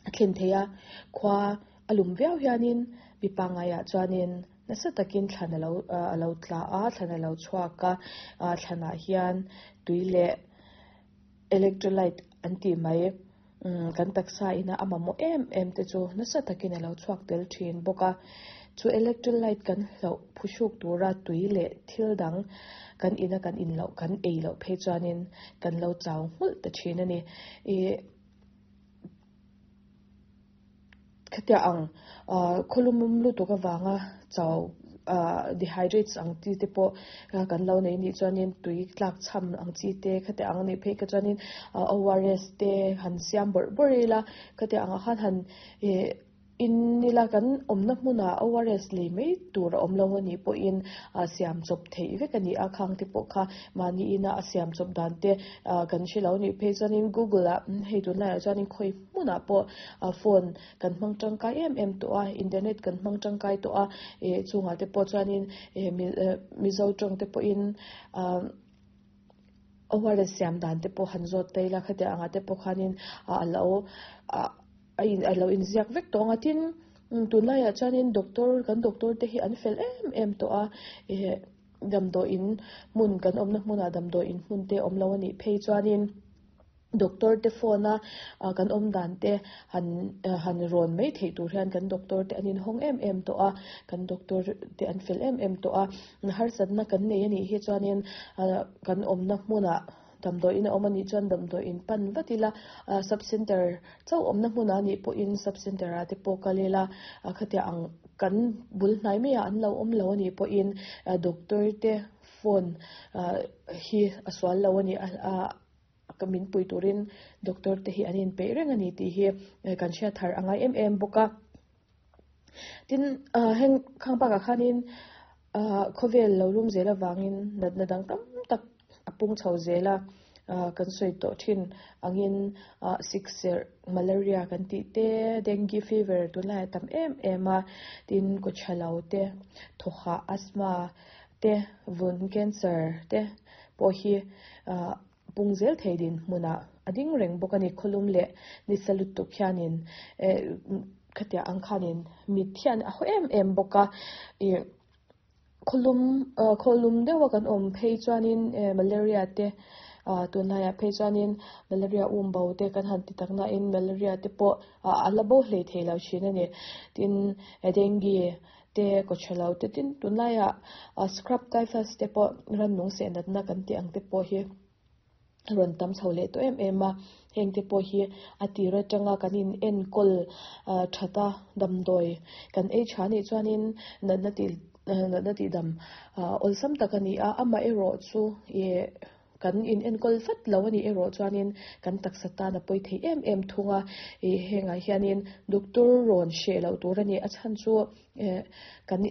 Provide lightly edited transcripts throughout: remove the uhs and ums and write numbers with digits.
a thlen thei a, khua a lum viau hianin mi pangaiah chuanin nasa takin thlan a lo a lo tla a, thlan a lo chhuak a, thlanah hian tui leh electrolyte an tih mai umm kan taksa ina a mamawh em em te chu nasa takin a lo chhuak tel thin bawk a, chu electrolyte kan hloh phuhruk tura tui leh thil dang kan ina kan in loh kan ei loh phei chuanin kan lo chau nghulh ta thin a ni ih. Khatiang ang khawlum lutuk avanga chau dehydrates ang chi te pawh kan lo nei nih chuanin tui tlak chham ang chi te khatiang ang nih phei kha chuanin ORS te han siam bawrh bawrh ila khatiang angah khan han ih In ila kan awmna hmunah ORS lei mai tur a awm lo a nih pawhin siam chawp theih vek a ni a, khang te pawh kha mahni ina a siam chawp dan te kan hre lo a nih phei chuanin Google ah hei tunlaiah chuanin khawi hmunah pawh phone kan hmang tangkai em em tawh a, internet kan hmang tangkai tawh a, ih chungah te pawh chuanin Mizo tawng te pawhin ORS siam dan te pawh han zawt ta ila khatiang angah te pawh khanin a lo A in a lo inziak vek tawh ang a tin tunlaiah chuanin doctor kan doctor te hi an fel em em tawh a eh damdawiin hmun kan awmna hmunah damdawiin hmun te awm lo a nih phei chuanin doctor te phone a ah kan awm dan te han han rawn mai theih tur hian kan doctor te an inhawng em em tawh a kan doctor te an fel em em tawh a harsatna kan nei a nih hi chuanin ah kan awmna hmunah. Damdawiin a awm a nih chuan damdawiin pan vat ila, sub centre chauh awmna hmunah a nih pawhin sub centre ah te pawh kal ila, khatiang ang kan bul hnai maiah an lo awm lo a nih pawhin doctor te phone hi a sual lo a ni a, min pui turin doctor te hi an inpeih reng a ni tih hi kan hriat thar a ngai em em bawk a. Tin, heng khang bakah khanin khawvel lo lum zel avangin natna dang tam tak a pung chho zel a, kan sawi tawh thin angin sikserh, malaria kan tih te, dengue fever tunlaiah a tam em em a, tin kawchhalo te, thawhah asthma te, vun cancer te pawh hi pung zel thei dinhmunah a ding reng bawk a ni. Khawlum leh nisa lutuk hianin eh khatiang ang khanin mit hian a haw em em bawk a, ih khawlum ah khawlum deuha kan awm phei chuanin eh malaria te ah tunlaiah phei chuanin malaria um bo te kan han ti tak nain malaria te pawh a la bo hlei thei lo thin a ni. Tin dengue te kaw tha lo te tin tunlaiah scrub typhus te pawh rannung seh natna kan tih ang te pawh hi a rawn tam chho leh tawh em em a, heng te pawh hi a tir atanga kan in enkawl that a damdawi kan ei tha anih chuanin natna tih natna tih dam awlsam tak a ni a, amaherawh chu ih Kan in enkawl vat lo a nih erawh chuanin kan taksa tan a pawi thei em em thung a, ih hengah hianin doctor rawn hreh loh tur a ni. A chhan chu eh kan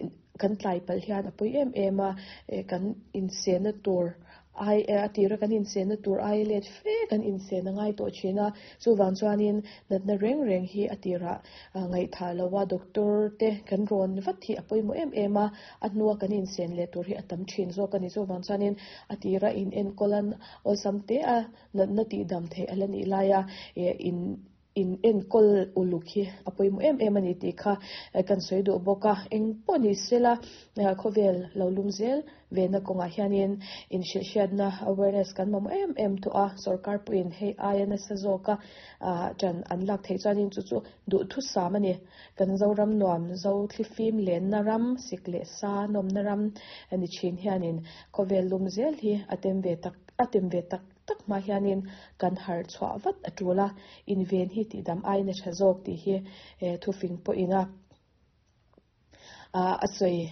kan tlai palh hian a pawi em em a, eh kan insenna tur ai a tira kan insenna tur ai let fe kan insen a ngai tawh thin a, chuvang chuanin natna reng reng hi a tirah ngaihthah lo a doctor te kan rawn vat hi a pawimawh em em a, a hnua kan insen leh tur hi a tam thin zawk a ni. Chuvang chuanin a tira in enkawl a awlsam te a natna tihdam theih a la nih laia in in enkawl uluk hi a pawimawh em em a ni tih kha kan sawi duh bawk a. Eng pawh ni sela khawvel lo lum zel vena kawngah hianin inhrilhhriatna awareness kan mamawh em em tawh a, sorkar pawhin hei aia nasa zawka ṭan an lak theih chuanin chu chu duhthusam a ni. Kan Zoram nuam zo thlifim lenna ram, sik leh sa nawmna ram ni thin hianin khawvel lum zel hi a tem ve tak a tem ve tak tak hma hianin kan harh chhuah vat a tul a, inven hi tihdam aiin a tha zawk tih hi thufing pawhin a a sawi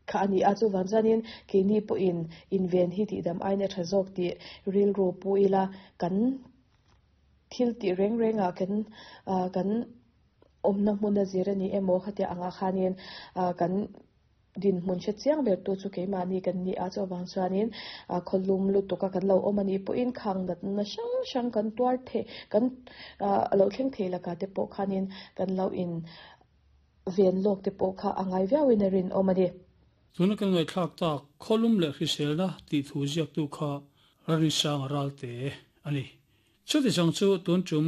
kha a ni a. Chuvang chuanin keini pawhin inven hi tihdam aiin a tha zawk tih rilru pu ila kan thil tih reng rengah kan kan awmna hmuna zir a ni emaw khatiang angah khanin kan dinhmun hre chiang ber tu chu keimahni kan ni a, chuvang chuanin khawlum lutuk a kan lo awm a nih pawhin khang natna hrang hrang kan tuar theih kan a lo thleng thei lakah te pawh khanin kan lo in ven lawk te pawh kha a ngai viauin a rinawm a ni. Tuna kan ngaihthlak tak khawlum leh hriselna tih thu ziaktu kha Rarinsanga Ralte a ni. Chuti chang chu tun tum.